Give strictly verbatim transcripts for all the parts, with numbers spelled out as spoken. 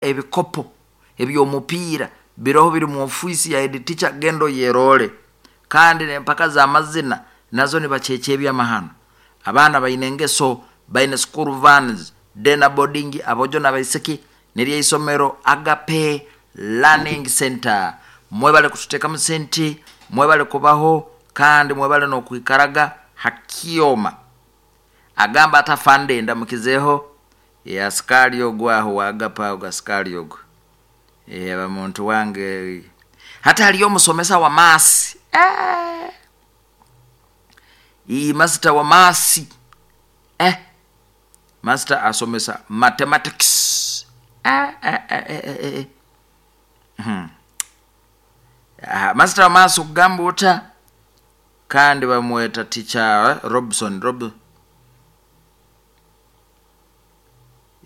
Ebikopo eby'omupiira biroho biri mu ofiisi ya head teacher, genda oyerole. Kandi n'empaka z'amazina nazo nibakyekya ebyamahano. Abaana baine engeso, baine school vans, day na boarding, abojo n'abaisiki. Niryo isomero Agape Learning Center. Mwebale kututeekamu sente, mwebale kubaho, kandi mwebale n'okwikaraga ha kyoma. Agamba ati afande ndamukizeeho e, askari ogu aho wa Agape ago askari ogu e, aba muntu wange. Hati haliyo omusomesa wa maasi eh. Ii master wa maasi eh. Master asomesa mathematics eh, eh, eh, eh, eh, eh. Hmm. Ah, master wa maasi okugamba ota kandi bamweta teacher eh, Robson Rob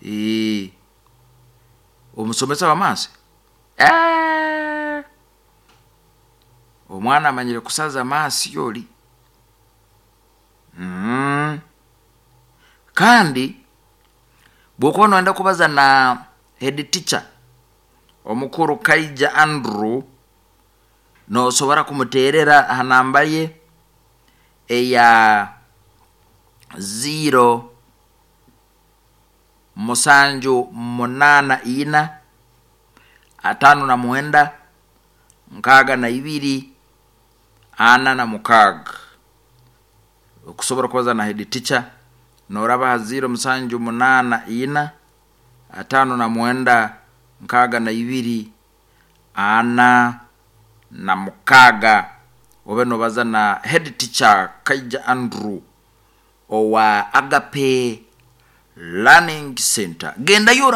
Ii. Omusomesa wa maasi eh. Omwana amanyire kusaza maasi oli mm. Kandi bwokuba noyenda kubaza na head teacher omukuru Kaija Andrew, nosobora kumuterera aha namba ye eya ziro musanju munana ina atano na mwenda nkaaga na ibiri ana na mukaaga. Okusobora kubaza na head teacher noraba ha ziro musanju munana ina atano na mwenda nkaaga na ibiri ana na mukaaga, obe nobaza na head teacher Kaija Andrew owa Agape Learning Center. Gendayo.